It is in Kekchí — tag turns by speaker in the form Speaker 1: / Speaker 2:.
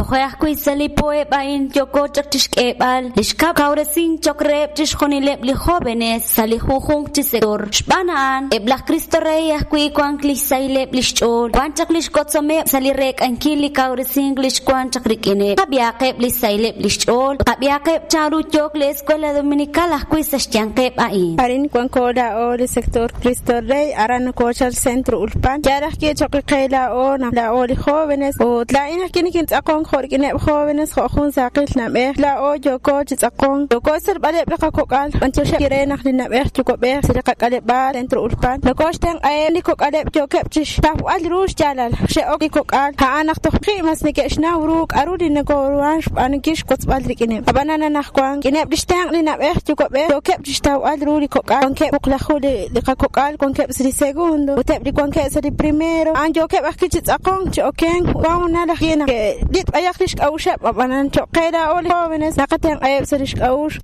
Speaker 1: Toje' ajwi' sa' li poheb' a'in yooko chaq chixk'eeb'al li xkab' kawresink choq' reheb' chixjunileb' li jóvenes sa' li junjunq chi sector. Xb'aan a'an, eb' laj Cristo Rey ajwi' wank lix sahileb' lix ch'ool, wan chaq lix wotzomeb' sa' li reek'ankil li kawresink li xwank chaq rik'ineb'. Qab'ihaqeb' lix sahileb' lix ch'ool, ut qab'ihaqeb' chanru yook li Escuela Dominical ajwi' sa' xyanqeb' a'in.
Speaker 2: Arin wanko laa'o li sector Cristo Rey, aran nokochal Centro Ulpan. Yaal ajwi' choq' qe laa'o naq laa'o li jóvenes, ut laa'in ajwi' nikintz'aqonk jo' rik'ineb' jóvenes jo' jun saaqil na'b'ej. Laa'o yooko chi tz'aqonk, yooko xtzolb'aleb' li qakok'al, b'antioxeb' re naq li na'b'ej yuwa'b'ej sa' li qak'aleb'aal Centro Ulpan nokoxtenq'aheb' li kok'aleb' yookeb' chixtawb'al ru xyaalal. Xe'ok li kok'al a'an naq toj ji' mas neke'xnaw ru k'a'ru li nokoruhan xb'aanunkil xwotzb'al rik'ineb'. Ab'anan anajwan, rik'ineb' lix tenq' li na'b'ej yuwa'b'ej yookeb' chixtawb'al ru li kok'al. Wankeb' wuqlaju li qakok'al wankeb' sa' li segundo ut eb' li wankeb' sa' li primero a'an yookeb' ajwi' chi tz'aqonk chi okenk. Wan hoonal ajwi' naq ke'litz' b'ayaq lix k'a'uxeb', ab'anan choq' qe laa'o li jóvenes naqatenq'aheb' sa' lix k'a'uxl.